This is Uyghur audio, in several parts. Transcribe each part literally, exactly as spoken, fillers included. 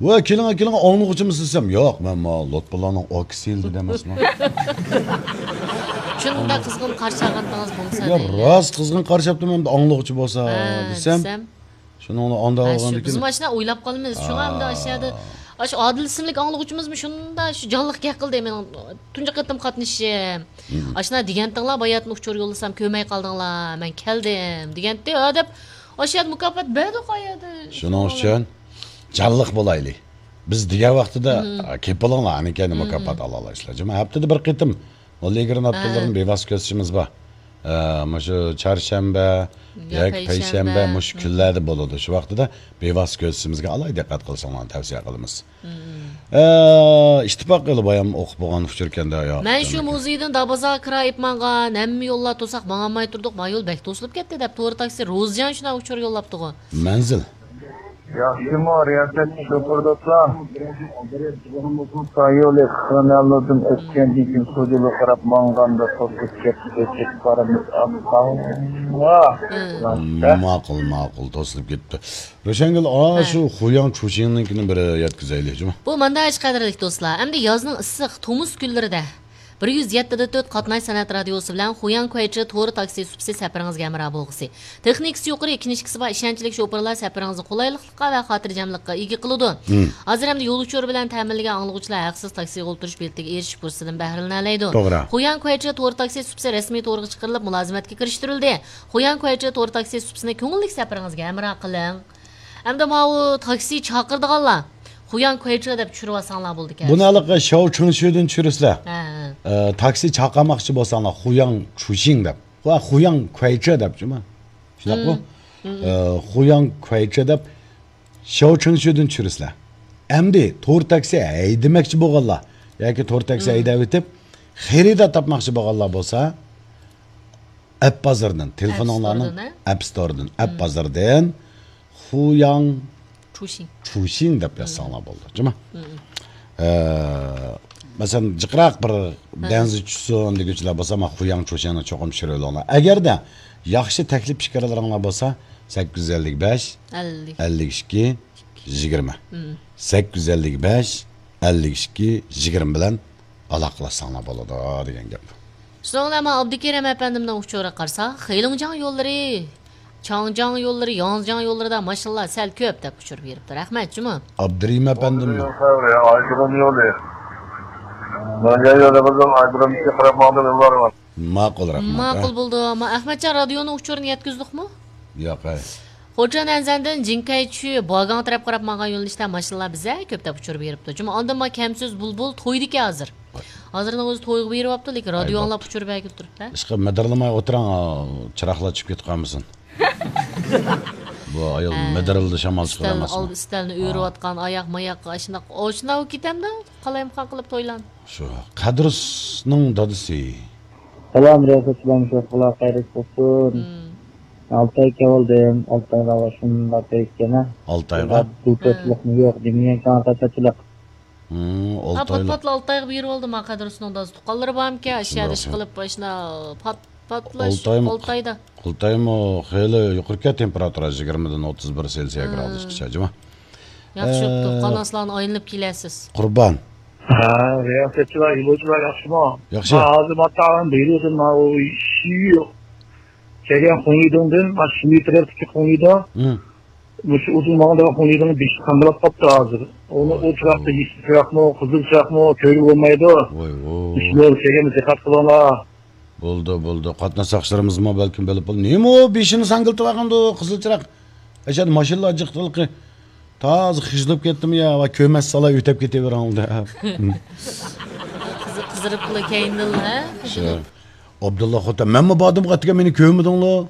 ۋە كېلىڭە، كېلىڭە، ئاڭلىغۇچىمىسىز دېسەم، ياق، مەن ما لۇتپۇللانىڭ ئاكىسى دېمەسمەن. شۇنداق قىزغىن قارشى ئالغانتىڭىز بولسا يا، دەيلى. راست قىزغىن قارشى ئاپتىمەن، ئەمدى ئاڭلىغۇچى بولسا ھە، دېسەم، دېسەم. شۇنىڭ ئانداق ھە، شۇ، بولغاندىكىن بىزمۇ ئاشۇنداق ئويلاپ قالىمىز. شۇڭا ئەمدى ئاشۇ يەردە، ئاشۇ ئادىل ئىسىملىك ئاڭلىغۇچىمىزمۇ شۇنداق شۇ جانلىق گەپ قىلدى. مېنىڭ تۇنجى قېتىم قاتنىشىشىم. مم. ئاشۇنداق دېگەنتىڭلار، باياتىن ئۇچۇر يوللىسام كۆرمەي قالدىڭلار، مەن كەلدىم دېگەنتى. ھە دەپ، ئاشۇ يەردە مۇكاپات بەردۇق ئايەردە. شۇنىڭ ئۈچۈن جانلىق بولايلى. بىز دېگەن ۋاقتىدا، مم. ئا، كېلىپ بولۇڭلار، ئانا كەينى مم. مۇكاپات ئالالايسىلەر. جۇمۇ ھەپتىدە بىر قېتىم. نوللىگىرى ناتىلىرىنى ھە. بىۋاسىتە كۆرسىتىشىمىز بار. ئە، مۇشۇ چارشەنبە، ياكى ياكى پەيشەنبە، پەيشەنبە. مۇشۇ مم. كۈنلەردە بولىدۇ. شۇ ۋاقتىدا بىۋاسىتە كۆرسىتىشىمىزگە ئالاھىدە دىققەت قىلساڭلارنى تەۋسىيە قىلىمىز. مم. ئە، ئىتتىپاق قىلىپ بايام ئوقۇپ بولغان ئۇچۇر ئىكەن-دە، يا. مەن شۇ مۇزېيدىن دابازا كىرا ئېلىپ ماڭغان، ھەممە يوللار توساق، ماڭالماي تۇردۇق، ما يول بەك توسۇلۇپ كەتتى دەپ تورى تاكسى روزىجان شۇنداق ئۇچۇر يوللاپتىغۇ. مەنزىل. ياخشىمۇ، رىياسەتچى شوپۇر دوستلار؟ سايولى خىنەللىدىن ئۆتكەندىن كېيىن سۇجىلىغا قاراپ ماڭغاندا توسۇپ كەتتى، كېتىپ بارىمىز. ئاپپاڭ. ماقۇل، ماقۇل، توسۇلۇپ كېتىپتۇ. روشەنگۈل، ئا، ھە. شۇ خۇياڭ چۇشىڭنىڭكىنى بىر يەتكۈزەيلى، جۇمۇ. بۇ مانداق ئىش، قەدىرلىك دوستلار. ئەمدى يازنىڭ ئىسسىق تومۇز كۈنلىرىدە بىر يۈز يەتتە دە تۆت قاتناش سەنئەت رادىيوسى بىلەن خۇياڭ كۇەيچې تورى تاكسى سۇپىسى سەپىرىڭىزگە ھەمراھ بولغۇسى. تېخنىكىسى يۇقىرى، كىنىشكىسى بار، ئىشەنچلىك شوپۇرلار سەپىرىڭىزنى قولايلىقلىققا ۋە خاتىرجەملىككە ئىگە قىلىدۇ. مم. ھازىر ئەمدى يول ئۇچۇرى بىلەن تەمىنلىگەن ئاڭلىغۇچىلار ھەقسىز تاكسىغا ئولتۇرۇش بېلىتىگە ئېرىشىش پۇرسىتىدىن بەھرىلىنەلەيدۇ. توغرا. خۇياڭ كۇەيچې تورى تاكسى سۇپىسى رەسمىي تورغا چىقىرىلىپ، مۇلازىمەتكە كىرىشتۈرۈلدى. خۇياڭ كۇەيچې تورى تاكسى سۇپىسىنى كۆڭۈللۈك سەپىرىڭىزگە ھەمراھ قىلىڭ. ئەمدى ماۋۇ تاكسى چاقىرىدىغانلار خۇياڭ كۇەيچې دەپ چۈشۈرۈۋالساڭلار بولىدىكەن. بۇنى ھېلىقى شاۋ چىڭشۈدىن چۈشۈرىسىلەر. ھە، ھە. ئە، تاكسى چاقىرماقچى بولساڭلار خۇياڭ چۈشىڭ دەپ. ۋە خۇياڭ كۇەيچې دەپ جۇما. شۇنداقمۇ؟ مم. مم. ئە، خۇياڭ كۇەيچې دەپ شاۋ چىڭشۈدىن چۈشۈرىسىلەر. ئەمدى تور تاكسى ھەيدىمەكچى بولغانلار ياكى تور تاكسى مم. ھەيدەۋېتىپ خېرىدار تاپماقچى بولغانلار بولسا، ئەپ بازىرىدىن، تېلېفونۇڭلارنىڭ ئەپ ستوردىن، ئەپ بازىرىدىن خۇياڭ چۇشىڭ. چۇشىڭ دەپ يازساڭلار بولىدۇ، جۇما. مم. ئە، مەسىلەن، جىقراق بىر دەنزى چۈشسۇن دېگۈچىلەر بولسا، مانا خۇياڭ چۇشىڭنى چوقۇم چۈشۈرۈۋېلىڭلار. ئەگەردە ياخشى تەكلىپ پىكىرلىرىڭلار بولسا، سەككىز يۈز ئەللىك بەش، ئەللىك. ئەللىك ئىككى، يىگىرمە. مم. سەككىز يۈز ئەللىك بەش، ئەللىك ئىككى، يىگىرمە بىلەن ئالاقىلاشساڭلار بولىدۇ دېگەن گەپ. شۇنىڭ بىلەن مانا ئابدۇكېرىم ئەپەندىمنىڭ ئۇچۇرىغا قارىساق، خېلىڭجاڭ يوللىرى، چاڭجاڭ يوللىرى، ياڭجياڭ يوللىرىدا ماشىنىلار سەل كۆپ دەپ ئۇچۇر بېرىپتۇ. رەھمەت، جۇمۇ. ئابدۇرېھىم ئەپەندىممۇ؟ ئايرىم يولى. ناھىيە يولى قىزىل ئايرىم قاراپ ماڭىدۇ يوللار بار. ماقۇل، رەھمەت. ماقۇل بولدى. ما ئەخمەتجان رادىيونىڭ ئۇچۇرىنى يەتكۈزدۇقمۇ؟ ياق، ھەي. خوجا نەنزەندىن جىڭكەيچۈ بۇاگاڭ تەرەپ قاراپ ماڭغان يۆنىلىشتە ماشىنىلار بىزە كۆپ دەپ ئۇچۇر بېرىپتۇ. جۇمۇ ئاندىن ما كەمسۆز بۇلبۇل تويدىكەن ھازىر. ھازىرنىڭ ئۆزى تويغا بېرىۋاپتۇ، لېكىن رادىيو ئاڭلاپ ئۇچۇر بەرگىلى تۇرۇپتۇ. ئىشقىلىپ مىدىرلىماي ئولتۇرۇڭ، چىراغلار چۈشۈپ كېتىپ قالمىسۇن. بۇ ئايال ھە. مىدىرلىدى، شامال چىقىرالماسمۇ؟ ئۈستەلنى ئۆرۈۋاتقان ئاياق ماياققا ئاشۇنداق، ئاشۇنداق كېتەمدۇ؟ قالايمىقان قىلىپ تويلارنى. شۇ قەدرۇسنىڭ دادىسى. سالام، رىياسەتچىلەرنى شوخلار خەيرلىك بولسۇن. مم. ئالتاي كەۋالدىم، ئالتايغا شۇنداق كەيكەنە. ئالتايغا؟ بۇ كۆپلۈكمۇ يوق، دېمىگەن كان قاچاچىلىق. مم، ھا، ئالتايلىق. پات-پاتلا ئالتايغا بېرىۋالدىم، ھا، قەدرۇسنىڭ دادىسى. تۇغقانلىرى بارمىكەن، ئاشۇ يەردە ئىش قىلىپ، ئاشۇنداق پات-، پاتلا ئالتايمۇ، ئالتايدا. ئالتايمۇ خېلى يۇقىرىكەن تېمپېراتۇرا، يىگىرمىدىن ئوتتۇز بىر سېلسىيە ھە. گرادۇسقىچە، جۇما. ياخشى بوپتۇ. ئە، قاناسلارنى ئايلىنىپ كېلەرسىز. قۇربان. ھە، رىياسەتچىلەر، يولۇچىلار ياخشىمۇ؟ ياخشى. ھە، ھازىر ماتاغان بېرىۋاتىمەن، ئۇ شىۋى كەلگەن خۇڭيىدىڭدىن، ما شىۋى تەرەپتىكى خۇڭيىدىڭ. ھە. مۇشۇ ئۇزۇن ماڭىدىغان خۇڭيىدىڭ بېشى قاندىلاپ قاپتۇ ھازىر. ئۇنى ۋاي، ئۇ چىراقتا ۋاي. يېشىل چىراقمۇ، قىزىل چىراقمۇ كۆرگىلى بولمايدۇ. ۋاي، ۋاي. مۇشۇ يول كەلگەندە دىققەت قىلىڭلار. بولدى، بولدى. قاتناش ساقچىلىرىمىزمۇ بەلكىم بىلىپ بولدى. نېمە ئۇ بېشىنى ساڭگىلتىۋالغاندۇ، قىزىل چىراغ. ئەشەدە ماشىنىلار جىقتىلىقى. تازا خىجىلىپ كەتتىم يا، ۋاي، كۆرمەس سالا ئۆتەپ كېتىۋېرىڭ دەپ. قىزىق، قىزىرىپلا كەينىدىنلا، ھە؟ شۇ. ئابدۇللا خوتەن، مەنمۇ باردىم قاتىكەن، مېنى كۆرمىدىڭلار.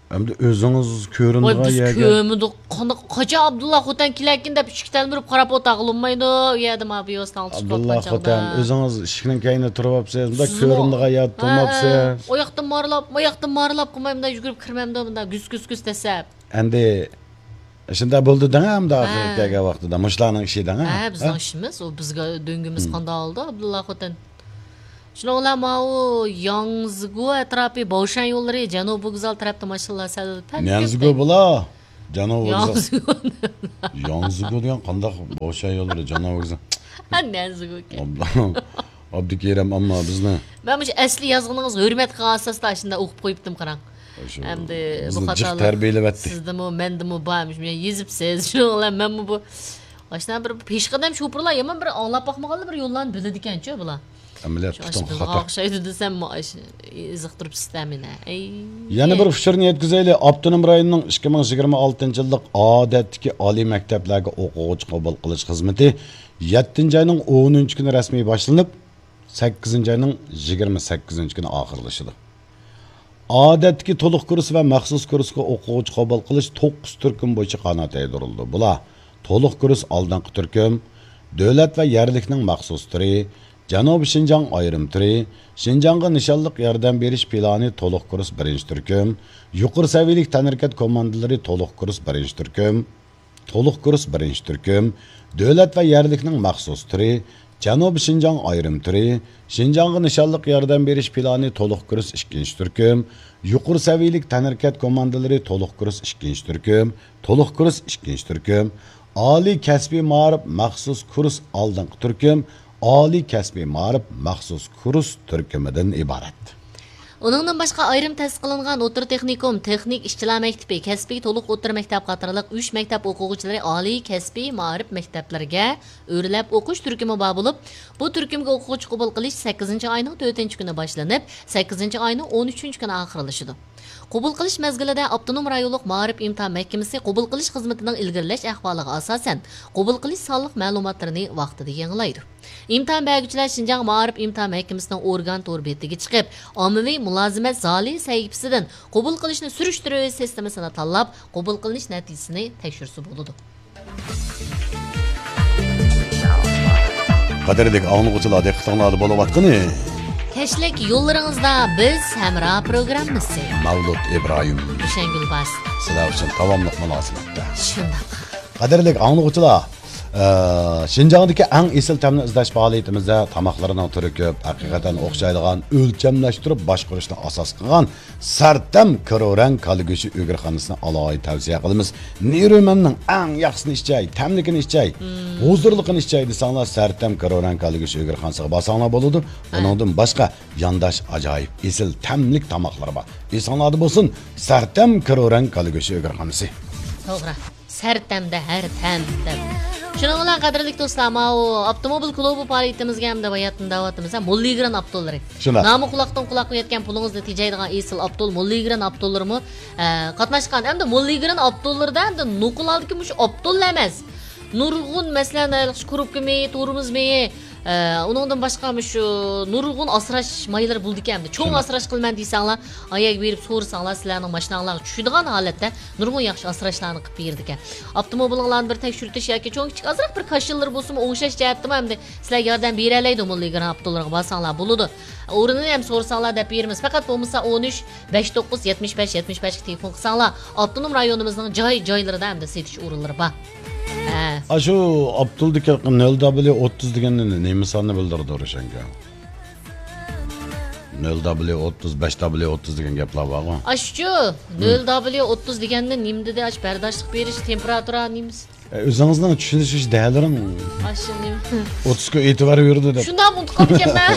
ئەمدى ئۆزىڭىز ۋاي، كۆرۈنىدىغان بىز يەرگە. كۆرمىدۇق. قانداق، قاچان ئابدۇللا خوتەن كېلەركىن دەپ ئىشىككە تەلمۈرۈپ قاراپ ئولتۇرغىلى بولمايدۇ. ئۇ يەردە ما بۇ يوسناڭ ئۇچۇپ ئابدۇللا كەتكەن خوتەن، چاغدا. ئۆزىڭىز ئىشىكنىڭ كەينىدە تۇرۇۋاپسىز، مۇنداق سىزمۇ كۆرۈنىدىغان يەردە ھە، تۇرماپسىز. ھە. ئۇ ياقتىن مارىلاپ، ما ياقتىن مارىلاپ قىلماي، مۇنداق يۈگۈرۈپ كىرمەمدۇ، مۇنداق گۈس گۈس گۈس دەسسەپ. ئەمدى شۇنداق بولدى دەڭ، ئەمدى ھە. ئاخىرى كەلگەن ۋاقتىدا مۇشۇلارنىڭ ئىشى دەڭ، ھە؟ ھە، بىزنىڭ ھە؟ ئىشىمىز، ئۇ بىزگە دۆڭگىمىز ھىم. قانداق ئالدى، ئابدۇللا خوتەن. شۇنىڭ بىلەن ماۋۇ ياڭزىگۇ ئەتراپى باۋشەن يوللىرى، جەنۇبىي ۋوگزال تەرەپتە ماشىنىلار سەل پەل نيانزىگۇ كۆپتەك. بۇلا. جانا ۋوگزال. ياڭزىگۇ. ياڭزىگۇ دېگەن قانداق بوشاي يوللىرى، جانا ۋوگزال. ھە، نەنزىگۇكەن. ئابلا-، ئابدۇكېرىم، ئەمما بىزنى. مەن مۇشۇ ئەسلى يازغىنىڭىز ھۆرمەت قىلغان ئاساستا ئاشۇنداق ئوقۇپ قويۇپتىم، قاراڭ. شۇ ئەمدى بۇ بىزنى جىق خاتالىق تەربىيەلەۋەتتى. سىزدىمۇ، مەندىمۇ بار، مۇشۇ يېزىپسىز. شۇنىڭ بىلەن مەنمۇ بۇ، ئاشۇنداق بىر پېشقەدەم شوپۇرلار يامان بىر ئاڭلاپ باقمىغانلا بىر يوللارنى بىلىدىكەنچۇ بۇلار. ئەمەلىيەت شۇ پۈتۈن ئاشۇ بىلغان خاتا. ئوخشايدۇ دېسەم، مۇ-، ئاش-، ئېزىقتۇرۇپسىز-دە مېنى. ئەي. يەنە بىر ئۇچۇرنى يەتكۈزەيلى. ئاپتونوم رايوننىڭ ئىككى مىڭ يىگىرمە ئالتىنچى يىللىق ئادەتتىكى ئالىي مەكتەپلەرگە ئوقۇغۇچى قوبۇل قىلىش خىزمىتى يەتتىنچى ئاينىڭ ئونىنچى كۈنى رەسمىي باشلىنىپ، سەككىزىنچى ئاينىڭ يىگىرمە سەككىزىنچى كۈنى ئاخىرلىشىدۇ. ئادەتتىكى تولۇق كۇرس ۋە مەخسۇس كۇرسقا ئوقۇغۇچى قوبۇل قىلىش توققۇز تۈركۈم بويىچە قانات يايدۇرۇلىدۇ. بۇلار: تولۇق كۇرس ئالدىنقى تۈركۈم، دۆلەت ۋە يەرلىكنىڭ مەخسۇس تۈرى، جەنۇبىي شىنجاڭ ئايرىم تۈرى، شىنجاڭغا نىشانلىق ياردەم بېرىش پىلانى تولۇق كۇرس بىرىنچى تۈركۈم، يۇقىرى سەۋىيەلىك تەنھەرىكەت كوماندىلىرى تولۇق كۇرس بىرىنچى تۈركۈم، تولۇق كۇرس بىرىنچى تۈركۈم، دۆلەت ۋە يەرلىكنىڭ مەخسۇس تۈرى، جەنۇبىي شىنجاڭ ئايرىم تۈرى، شىنجاڭغا نىشانلىق ياردەم بېرىش پىلانى تولۇق كۇرس ئىككىنچى تۈركۈم، يۇقىرى سەۋىيەلىك تەنھەرىكەت كوماندىلىرى تولۇق كۇرس ئىككىنچى تۈركۈم، تولۇق كۇرس ئىككىنچى تۈركۈم، ئالىي كەسپىي مائارىپ مەخسۇس كۇرس ئالدىنقى تۈركۈم، ئالىي كەسپىي مائارىپ مەخسۇس كۇرس تۈركۈمىدىن ئىبارەت. ئۇنىڭدىن باشقا، ئايرىم تەسىس قىلىنغان ئوتتۇرا تېخنىكوم، تېخنىك ئىشچىلار مەكتىپى، كەسپىي تولۇق ئوتتۇرا مەكتەپ قاتارلىق ئۈچ مەكتەپ ئوقۇغۇچىلىرى ئالىي كەسپىي مائارىپ مەكتەپلىرىگە ئۆرلەپ ئوقۇش تۈركۈمى بار بولۇپ، بۇ تۈركۈمگە ئوقۇغۇچى قوبۇل قىلىش سەككىزىنچى ئاينىڭ تۆتىنچى كۈنى باشلىنىپ، سەككىزىنچى ئاينىڭ ئون ئۈچىنچى كۈنى ئاخىرلىشىدۇ. قوبۇل قىلىش مەزگىلىدە ئاپتونوم رايونلۇق مائارىپ ئىمتىھان مەھكىمىسى قوبۇل قىلىش خىزمىتىنىڭ ئىلگىرىلەش ئەھۋالىغا ئاساسەن، قوبۇل قىلىش سانلىق مەلۇماتلىرىنى ۋاقتىدا يېڭىلايدۇ. ئىمتىھان بەرگۈچىلەر شىنجاڭ مائارىپ ئىمتىھان مەھكىمىسىنىڭ ئورگان تور بېتىگە چىقىپ، ئاممىۋى مۇلازىمەت زالى سەھىپىسىدىن قوبۇل قىلىشنى سۈرۈشتۈرۈش سىستېمىسىنى تاللاپ، قوبۇل قىلىنىش نەتىجىسىنى تەكشۈرسە بولىدۇ. قەدىرلىك ئاڭلىغۇچىلار، دىققىتىڭلاردا بولۇۋاتقىنى كەچلىك يوللىرىڭىزدا بىز ھەمراھ پروگراممىسى. مەۋلۇت ئىبراھىم. ھۈسەيىنگۈل باس. سىلەر ئۈچۈن داۋاملىق مۇلازىمەتتە. شۇنداق. قەدىرلىك ئاڭلىغۇچىلار، ئە، شىنجاڭدىكى ئەڭ ئېسىل تەمنى ئىزدەش پائالىيىتىمىزدە تاماقلىرىنىڭ تۈرى كۆپ، ھەقىقەتەن ئوخشايدىغان، ئۆلچەملەشتۈرۈپ باشقۇرۇشنى ئاساس قىلغان سەرتەم كىرورەڭ كالا گۆشى ئۆگرىخانىسىنى ئالاھىدە تەۋسىيە قىلىمىز. نېرۇمەننىڭ ئەڭ ياخشىسىنى ئىچەي، تەملىكىنى ئىچەي، ھۇزۇرلۇقىنى ئىچەي دېسەڭلار، سەرتەم كىرورەڭ كالا گۆشى ئۆگرىخانىسىغا بارساڭلار بولىدۇ. ئۇنىڭدىن باشقا يانداش ئاجايىپ ئېسىل تەملىك تاماقلىرى بار. ئېسىڭلاردا بولسۇن، سەرتەم كىرورەڭ كالا گۆشى ئۆگرىخانىسى. توغرا. سەرتەمدە ھەر تەم دەپ. شۇنىڭ بىلەن قەدىرلىك دوستلار، ماۋۇ ئاپتوموبىل كۇلۇبى پائالىيىتىمىزگە ھەمدە باياتىن داۋاتىمىز ھە، موللىگرېن ئاپتوللىرى. شۇنداق. نامى قۇلاقتىن قۇلاققا يەتكەن، پۇلىڭىزنى تېجەيدىغان ئېسىل ئاپتول موللىگرېن ئاپتوللىرىمۇ، ئە، قاتناشقان. ھەمدە موللىگرېن ئاپتوللىرىدا ھەمدە نوقۇل ھالدىكى مۇشۇ ئاپتوللا ئەمەس. نۇرغۇن، مەسىلەن، كۇرۇپكا مېيى، تورمۇز مېيى، ئە، ئۇنىڭدىن باشقا مۇشۇ نۇرغۇن ئاسراش مايلىرى بولىدىكەن. ھەمدە چوڭ شۇنداق. ئاسراش قىلىمەن دېسەڭلار، ئايەگە بېرىپ سورىساڭلار، سىلەرنىڭ ماشىناڭلارغا چۈشىدىغان ھالەتتە نۇرغۇن ياخشى ئاسراشلارنى قىلىپ بېرىدىكەن. ئاپتوموبىلىڭلارنى بىر تەكشۈرتۈش ياكى چوڭ كىچىك ئازراق بىر كاشىلىرى بولسىمۇ ئوڭشاش جەھەتتىمۇ ھەمدە سىلەرگە ياردەم بېرەلەيدۇ، موللىگرېن ئاپتوللىرىغا بارساڭلار بولىدۇ. ئورنىنى ھەم سورىساڭلار دەپ بېرىمىز. پەقەت بولمىسا ئون ئۈچ، بەش توققۇز، يەتمىش بەش، يەتمىش بەشكە تېلېفون قىلساڭلار، ئاپتونوم رايونىمىزنىڭ جاي-جايلىرىدا ھەمدە سېتىش ئورۇنلىرى بار. ھە. ئاشۇ ئاپتولدىكى نۆل دابليۇ ئوتتۇز دېگەننى نېمە ساننى بىلدۈرىدۇ، روشەنگۈل؟ نۆل دابليۇ ئوتتۇز، بەش دابليۇ ئوتتۇز دېگەن گەپلەر بارغۇ. ئاشۇچۇ، نۆل دابليۇ ئوتتۇز دېگەننى نېمە دېدى؟ ئاش بەرداشلىق بېرىش، تېمپېراتۇرا نېمىسى؟ ئۆزىڭىزنىڭ چۈشىنىش دەلىرىڭ. ئاشۇ نېمە؟ ئوتتۇزغا ئېتىبار بېرىدۇ دەپ. شۇنداق ئۇنتۇپ قاپتىكەنمەن.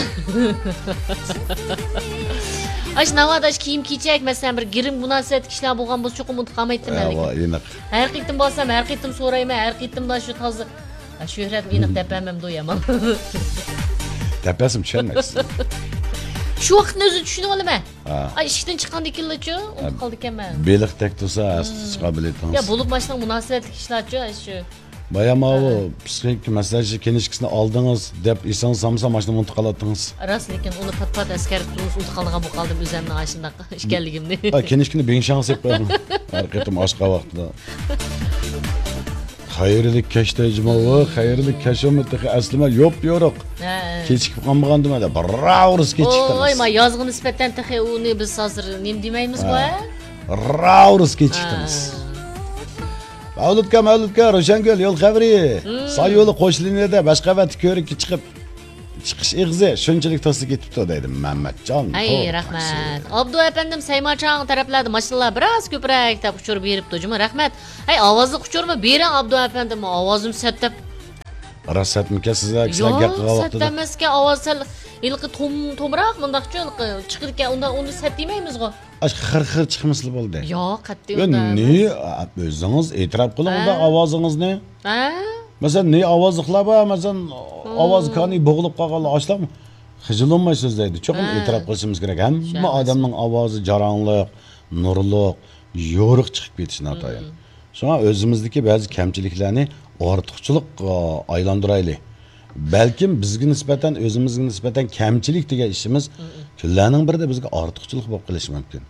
ئاشۇ ناۋادا ئاشۇ كىيىم كېچەك، مەسىلەن، بىر گىرىم مۇناسىۋەتلىك ئىشلار بولغان بولسا، چوقۇم ئۇنتۇپ قالمايتتىم مەن لېكىن. ئېنىق. ھەر قېتىم بارسام، ھەر قېتىم سورايمەن، ھەر قېتىمدا شۇ تازا. ھە، شۆھرەتمۇ ئېنىق دەپ بەرمەمدۇ يامان. دەپ بەرسىمۇ چۈشەنمەيسىز. شۇ ۋاقىتنى ئۆزى چۈشىنىۋالىمەن. ھە. ئاي، ئىشىكتىن چىققاندىن كېيىنلىچۇ، ئۇنتۇپ قالىدىكەنمەن. بېلىق تەگدى دېسە، ھەستە چىقار بېلىتىڭىز. يا، بولۇپمۇ ئاشۇنداق مۇناسىۋەتلىك ئىشلارچۇ، ئاي، شۇ. بايا ماۋۇ ھە. پسىخىك مەسلىھەتچى كىنىشكىسىنى ئالدىڭىز دەپ ئېسىڭىز سالمىسا، ماشىنىنى ئۇنتۇپ قالاتتىڭىز. راست، لېكىن ئۇنى پات-پات ئەسكەرتىپ تۇرۇڭىز، ئۇنتۇپ قالىدىغان بولۇپ قالدىم ئۆزۈمنىڭ ئاشۇنداق ئىكەنلىكىمنى. ھە، كىنىشكىنى بىڭشاڭ سېلىپ قويۇڭ. ھەر قېتىم ئاچقان ۋاقتىدا. خەيرلىك كەچ دەيجىمۇ، خەيرلىك كەچ بولمىدى تېخى ئەسلىمە يوپيورۇق. ھە. كېچىكىپ قالمىغاندىمۇ دەپ، راۋۇرۇس كېچىكتىڭىز. ئوي، ما يازغا نىسبەتەن تېخى ئۇنى بىز ھازىر نېمە دېمەيمىزغۇ، ھە. ھە؟ راۋۇرۇس كېچىكتىڭىز. ھە. مەۋلۇتكا، مەۋلۇتكا، روشەنگۈل، يول خەۋىرى. ھىم. ساي يولى قوش لىنىيەدە، بەش قەۋەتلىك كۆۋرۈككە چىقىپ، چىقىش ئېغىزى شۇنچىلىك تاسلا كېتىپتۇ، دەيدۇ مەمەتجان. ھەي، تورداش. رەھمەت. ئابدۇ ئەپەندىم، سەيماچاڭ تەرەپلەردە ماشىنىلار بىراز كۆپرەك دەپ ئۇچۇر بېرىپتۇ جۇمۇ. رەھمەت. ھەي، ئاۋازلىق ئۇچۇرمۇ بېرىڭ، ئابدۇ ئەپەندىم، ئاۋازىم سەت دەپ. راست سەتمىكەن سىزلەر، كىشىلەر گەپ قىلغان ۋاقتىدا؟ ياق، سەت ئەمەسكەن، ئاۋاز سەل ھېلىقى توم-، تومراق مۇنداقچۇ، ھېلىقى چىقىدىكەن، ئۇندا، ئۇندا سەت دېمەيمىزغۇ. ئاشۇ خىر-خىر چىقمىسىلا بولدى. ياق، قەتئىي يا ئۇنداق نى، ئەمەس. ئۆزىڭىز ئېتىراپ قىلىڭ ئۇنداق ھە. ئاۋازىڭىزنى. ھە؟ مەسىلەن، نى ئاۋازلىقلار بار، مەسىلەن، مم. ئاۋاز كانى بوغۇلۇپ قالغانلار ئاشۇلار خىجىللانماي سۆزلەيدۇ. چوقۇم ھە. ئېتىراپ قىلىشىمىز كېرەك. ھەممە شۇ ئەمەس. ئادەمنىڭ ئاۋازى جاراڭلىق، نۇرلۇق، يورۇق چىقىپ كېتىشى ناتايىن. مم. شۇڭا ئۆزىمىزدىكى بەزى كەمچىلىكلەرنى ئارتۇقچىلىققا ئايلاندۇرايلى. بەلكىم بىزگە نىسبەتەن، ئۆزىمىزگە نىسبەتەن كەمچىلىك دېگەن ئىشىمىز مم. كۈنلەرنىڭ بىرىدە بىزگە ئارتۇقچىلىق بولۇپ قېلىشى مۇمكىن.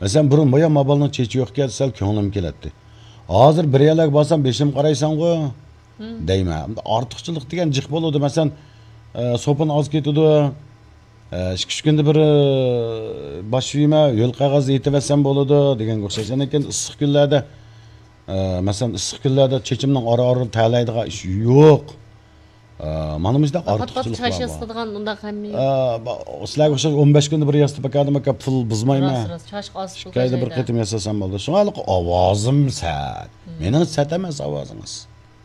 مەسىلەن، بۇرۇن بايا ما بالىنىڭ چېچى يوق ئىكەن، سەل كۆڭلۈم كېلەتتى. ھازىر بىر يەرلەرگە بارسام، بېشىم قارايسەنغۇ مم. دەيمەن. ئارتۇقچىلىق دېگەن جىق بولىدۇ. مەسىلەن، ئە، سوپۇن ئاز كېتىدۇ. ئە، ئىككى ئۈچ كۈندە بىر، ئە، باش يۇيىمەن، ھۆل قەغەز يېتىۋەتسەم بولىدۇ دېگەنگە ئوخشاش. ئاندىن كېيىن ئىسسىق كۈنلەردە، ئە، مەسىلەن، ئىسسىق كۈنلەردە چېچىمنىڭ ئارا-ئارىدا تەلەيدىغان ئىش يوق. ئە، مانا مۇشۇنداق پات-پات ئارتۇقچىلىق چاچ بار. ياسىتىدىغان ئۇنداق ھەممە. ئە، با-، سىلەرگە ئوخشاش ئون بەش كۈندە بىر ياسىتىپ باقاي دېمەككە پۇل بۇزمايمەن. راست، راست، چاچقا ئاز پۇل ئىككى ئايدا بىر خەجلەيمەن. قېتىم ياساسام بولدى. شۇڭا ھېلىقى ئاۋازىم سەت. مم. مېنىڭ سەت ئەمەس ئاۋازىڭىز.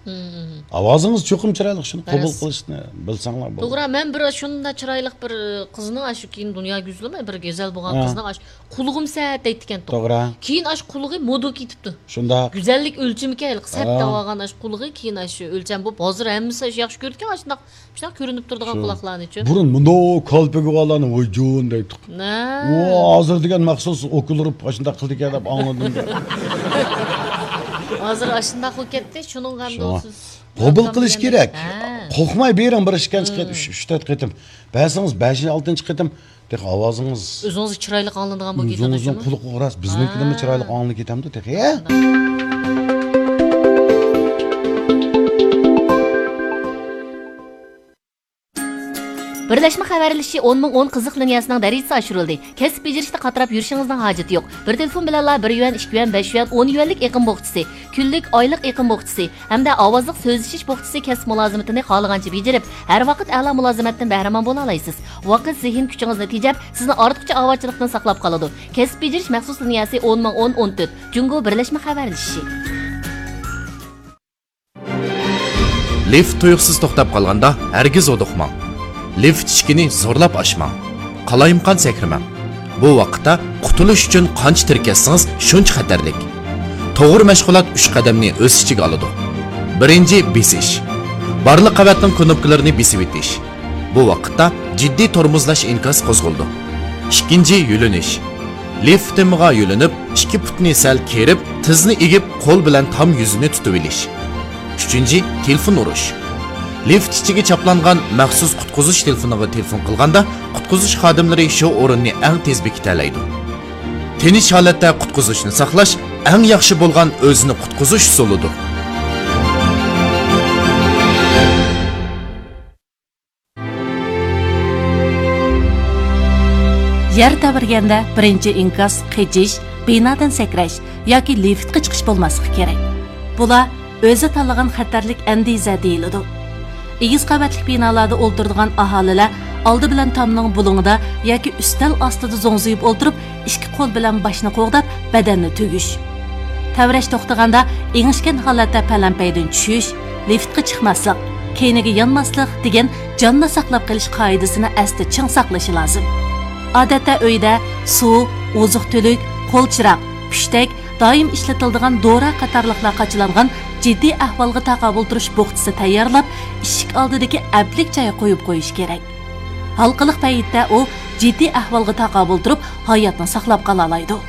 مم. ئاۋازىڭىز چوقۇم چىرايلىق، شۇنى قوبۇل راست. قىلىشنى بىلسەڭلار بولدى. توغرا، مەن بىر شۇنداق چىرايلىق بىر قىزنىڭ ئاشۇ كېيىن دۇنيا يۈزلىمە بىر گۈزەل بولغان ھە. قىزنىڭ ئاشۇ قۇلىقىم سەت دەيدىكەن. توغرا. كېيىن ئاشۇ قۇلىقى مودا كېتىپتۇ. شۇنداق. گۈزەللىك ئۆلچىمىكەن ھېلىقى سەت ھە. دەۋالغان ئاشۇ قۇلىقى كېيىن ئاشۇ ئۆلچەم بولۇپ، ھازىر ھەممىسى ئاشۇ ياخشى كۆرىدىكەن ئاشۇنداق، شۇنداق كۆرۈنۈپ تۇرىدىغان شۇ. قۇلاقلارنىچۇ. بۇرۇن مۇنداق كالپۇكى بارلارنى ۋايجۇن دەيتتۇق. نە. ئۇ ھازىر دېگەن مەخسۇس ئوكۇلۇرۇپ ئاشۇنداق قىلىدىكەن دەپ ئاڭلىدىم. ھازىر ئاشۇنداق بولۇپ كەتتى، شۇنىڭغا شۇڭا. دوستسىز. قوبۇل قىلىش كېرەك. ھە. قورقماي بېرىڭ، بىر ئىككىنچى قېتىم، مم. ئۈچ، ئۈچ، تۆت قېتىم. بەرسىڭىز بەشىنچى، ئالتىنچى قېتىم تېخى ئاۋازىڭىز ئۆزىڭىزگە چىرايلىق ئاڭلىنىدىغان بولۇپ كېتىدۇ. ئۆزىڭىزنىڭ قۇلىقىغا راست، بىزنىڭكىدىنمۇ ھە. چىرايلىق ئاڭلىنىپ كېتەمدۇ تېخى، ھە؟ بىرلەشمە خەۋەرلىشىشى ئون مىڭ ئون قىزىق لىنىيەسىنىڭ دەرىجىسى ئاشۇرۇلدى. كەسىپ بېجىرىشتە قاتراپ يۈرۈشىڭىزنىڭ ھاجىتى يوق. بىر تېلېفون بىلەنلا بىر يۈەن، ئىككى يۈەن، بەش يۈەن، ئون يۈەنلىك ئېقىم بوخچىسى، كۈنلۈك، ئايلىق ئېقىم بوخچىسى ھەمدە ئاۋازلىق سۆزلىشىش بوخچىسى كەسىپ مۇلازىمىتىنى خالىغانچە بېجىرىپ، ھەر ۋاقىت ئەلا مۇلازىمەتتىن بەھرىمەن بولالايسىز. ۋاقىت، زېھىن كۈچىڭىزنى تېجەپ، سىزنى ئارتۇقچە ئاۋارىچىلىقتىن ساقلاپ قالىدۇ. كەسىپ بېجىرىش مەخسۇس لىنىيەسى ئون مىڭ ئون ئون تۆت، جۇڭگو بىرلەشمە خەۋەرلىشىشى. لىفت تۇيۇقسىز توختاپ قالغاندا ھەرگىز ھودۇقماڭ. لىفت ئىشىكىنى زورلاپ ئاچماڭ. قالايمىقان سەكرىمەڭ. بۇ ۋاقىتتا قۇتۇلۇش ئۈچۈن قانچە تىركەشسىڭىز، شۇنچە خەتەرلىك. توغرا مەشغۇلات ئۈچ قەدەمنى ئۆز ئىچىگە ئالىدۇ. بىرىنچى، بېسىش. بارلىق قەۋەتنىڭ كۇنۇپكىلىرىنى بېسىۋېتىش. بۇ ۋاقىتتا جىددىي تورمۇزلاش ئىنكاس قوزغىلىدۇ. ئىككىنچى، يۆلىنىش. لىفت تېمىغا يۆلىنىپ، ئىككى پۇتنى سەل كېرىپ، تىزنى ئېگىپ، قول بىلەن تام يۈزىنى تۇتۇۋېلىش. ئۈچىنچى، تېلېفون ئۇرۇش. لىفت ئىچىگە چاپلانغان مەخسۇس قۇتقۇزۇش تېلېفونىغا تېلېفون قىلغاندا، قۇتقۇزۇش خادىملىرى شۇ ئورۇننى ئەڭ تېز بېكىتەلەيدۇ. تىنچ ھالەتتە قۇتقۇزۇشنى ساقلاش ئەڭ ياخشى بولغان ئۆزىنى قۇتقۇزۇش ئۇسۇلىدۇر. يەر تەۋرىگەندە بىرىنچى ئىنكاس قېچىش، بىنادىن سەكرەش ياكى لىفتقا چىقىش بولماسلىقى كېرەك. بۇلار ئۆزى تاللىغان خەتەرلىك ئەندىزە دېيىلىدۇ. ئېگىز قەۋەتلىك بىنالاردا ئولتۇرىدىغان ئاھالىلەر ئالدى بىلەن تامنىڭ بۇلۇڭىدا ياكى ئۈستەل ئاستىدا زوڭزىيىپ ئولتۇرۇپ، ئىككى قول بىلەن باشنى قوغداپ، بەدەننى تۈگۈش. تەۋرەش توختىغاندا ئېڭىشكەن ھالەتتە پەلەمپەيدىن چۈشۈش، لىفتقا چىقماسلىق، كەينىگە يانماسلىق دېگەن جاننى ساقلاپ قېلىش قائىدىسىنى ئەستە چىڭ ساقلىشى لازىم. ئادەتتە ئۆيدە سۇ، ئوزۇق-تۈلۈك، قول چىراغ، پۈشتەك، دائىم ئىشلىتىلىدىغان دورا قاتارلىقلار قاچىلانغان جىددىي ئەھۋالغا تاقابىل تۇرۇش بوخچىسى تەييارلاپ، ئىشىك ئالدىدىكى ئەپلىك جايغا قويۇپ قويۇش كېرەك. ھالقىلىق پەيتتە ئۇ جىددىي ئەھۋالغا تاقابىل تۇرۇپ، ھاياتنى ساقلاپ قالالايدۇ.